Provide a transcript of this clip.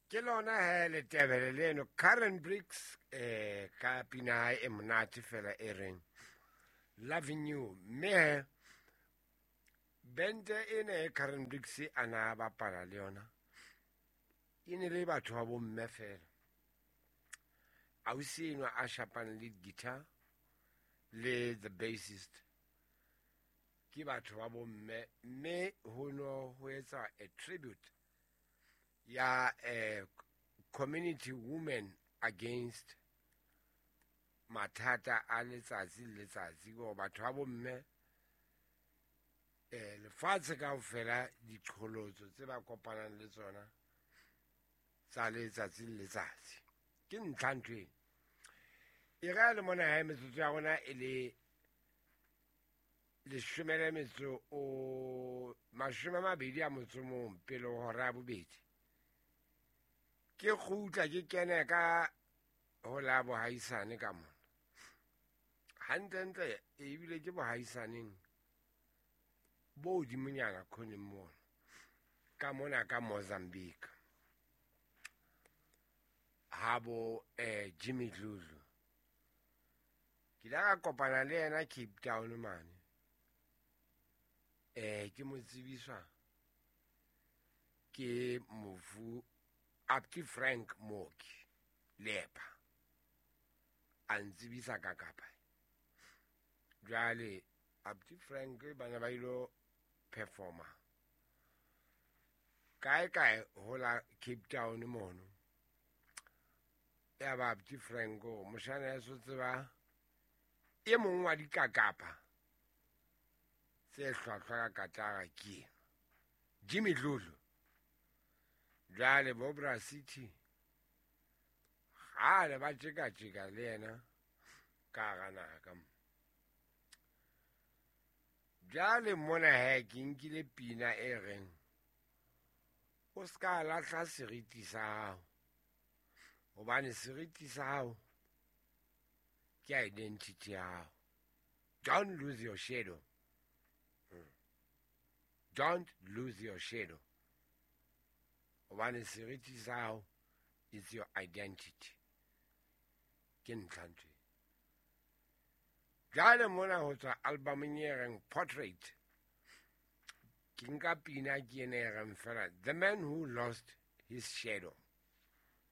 Ke lona he letebele leno Karen Briggs ka pina hae e monate fela e reng Loving You. Mme he bente ena e Karen Briggs a na bapala le yona e ne le batho ba bomme fela. Ausi enwa a shapang lead guitar le the bassist ke batho ba bomme, mme ho no ho etsa a tribute ya community women against mathata a letsatsi le letsatsi, go batho ba bomme lefatshe kaofela diqholotso tse ba kopanang le tsona tsa letsatsi le letsatsi. Ke ntlha ntho eno. E re le mona hae metsotso ya rona e le 21 pele ho hora ya bobedi. Ke kgutla ke kene ka ho la bohaisane ka mona. Hantlentle ebile ke bohaisaneng bo hodimonyana khoneng mona. Ka mona ka Mozambique. Ha bo Jimmy Dludlu. Ke ile ka kopana le yena Cape Town mane. Ke mo tsebiswa ke mofu Apti Frank Mooki Lepa. A ntsebisa ka kapa. Jwale Apti Frank ba ne ba ilo performa kae kae ho la Cape Town mono. Ya ba Apti Frank o moshana ya so tseba e mong wa dikakapa tse hlwahlwa ka katara ke ena Jimmy Dludlu. Jwale bo Bra City kgale ba tjeka-tjeka le yena ka hara naha ka mo. Jwale mona he ke nkile pina e reng o ska lahla seriti sa hao, hobane seriti sa hao ke identity ya hao. Don't lose your shadow. Don't lose your shadow. Hobane seriti sa hao is your identity. Ke ntlha ntho e. Jwale mona ho tswa albumeng e reng Portrait. Ke nka pina ke ena e reng fela The Man Who Lost His Shadow.